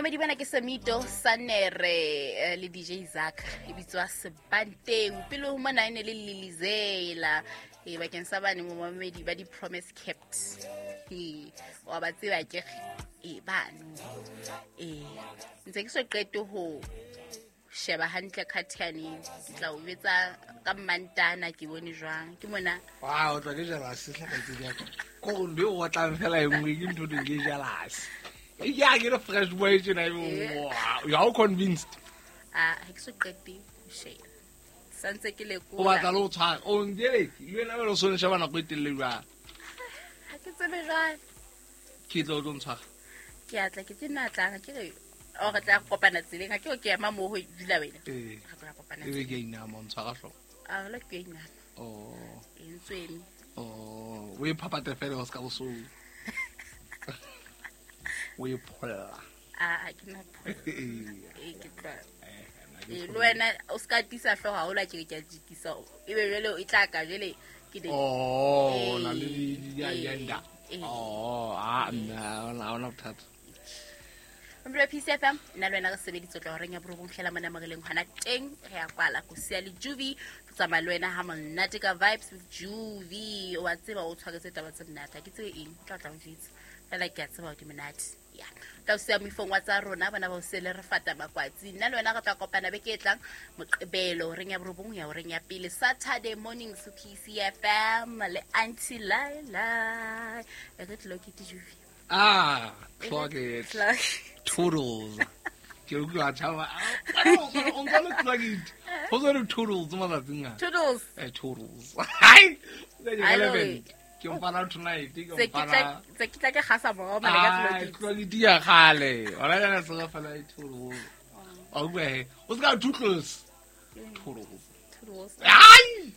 Momedi bana ke Semito Sanere le DJ Zaka e bitswa Sebanteu. Pele ho mona e ne le Lilizela. E bakeng sa bane momamedi ba di Promise Kept. E wa ba tseba ke e bano. E ntse ke so qete ho sheba hantle khathiane ke tla o betsa ka mmantana ke bone jwang ke mona. Wa o tla ke jealous hle kgaitsedi ya ka. Ko gore ntho e o otlang fela e nngwe ke ntho teng ke jealous. E ke a ke re fresh boy tjena e you are convinced. A ha ke so qete ho sheba. Santse ke lekola. O batla le o tshwara. O njeletse. Le wena o so sheba nako e telele jwang. Ha ke tsebe jwang. Ke tlo o tlo ntshwara. Ke atla ke tena tlang ke re o re tla kopana tseleng ha ke o ke ema moo ho dula wena. Ee. Re tla kopana. E be ke inama o ntshwara hlooho. A la ke inama. Oh. E ntswemi. Oh, o e phapate fela o ska boso. O e pholla. A ke na pholla. E ke tla. E le wena o ska tisa hlooho ha o la ke ke a jikisa. E be jwale e tla ka jwale ke de. Oh, na le di agenda. Oh, a nna ona ona bothata. Mbula PCFM nna le wena re sebeditse tla horeng ya borobong hlela mona mo re leng hona teng re ya kwala ko sia le Juvi re tsamaya le wena ha monate ka vibes with Juvi wa tseba o tshwaretse taba tse monate ha ke tsebe eng o tla tla o jwetsa fela ke a tseba hore di monate ya tla o siya moifong wa tsa rona bona ba o sele re fata makwatsi nna le wena re tla kopana beke e tlang moqebelo horeng ya borobong ya horeng ya pele Saturday morning so PCFM le Auntie Laila e re tlilo ke Juvi. Ah, clock it. Clock. Toodles. Ke utlwa tshaba. O ntse le clock it. Ho tswa le toodles matsatsing a. Toodles. Eh, toodles. Hai. Ai, Ke mpana tonight, ke Se ke tla mpana. se ke tla ke gasa morao mane ka Ah, clock it. clock it ya kgale. Hona jwale se re fela e toodles. Wa utlwa he. O ska toodles. Toodles. Toodles. Ai!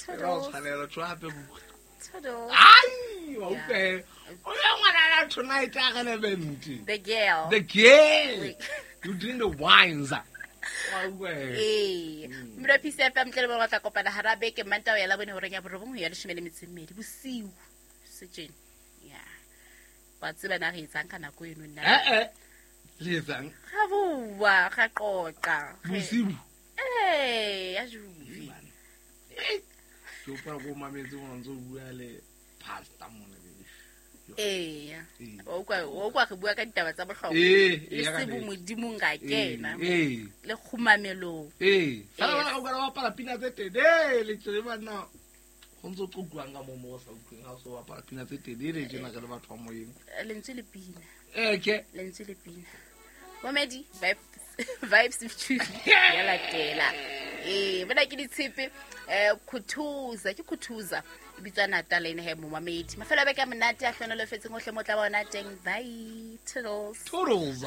Ra Toodles. tshwanela tshwa hape buka. Toodles. Ai, wa utlwa he. O ya ngwana tonight a relevant. The girl. The girl. You drink the wines. Wa utlwa he. Ee. Mmino PCFM tle le bona tla kopana hara beke Mantaha ya labone horeng ya borobong ho ya 12 bosiu. Setjene. Ya. Wa tseba na re etsang ka nako eno nna. Eh eh. Le etsang Ga bua, ga qoqa. bosiu. Eh, ya Juvi. Ke hopola ko mametse mona ntse o bua le pastor mona. Ee. Ee. Wa utlwa re bua ka ditaba tsa bohlokwa. Ee, Le ya ka se nnete. bomodimong ka kena. Ee. Le kgumamelong. Ee. Fela Yes. bana o ka bapala pina tse telele tjena banna. Ho ntso qoquwang ka moo mo o sa utlweng ha o so bapala pina tse telele tjena re le batho ba moyeng. Lentswe le pina. Eh ke. Lentswe le pina. Momedi vibes with Juvi ya latela. Ee, bona ke ditshepe Khuthuza ke Khuthuza e bitswa Natal ene he momamedi. Mafelo a beke a monate a hlohonolofetseng hohle mo tla bona teng. Bye. Toodles. Toodles.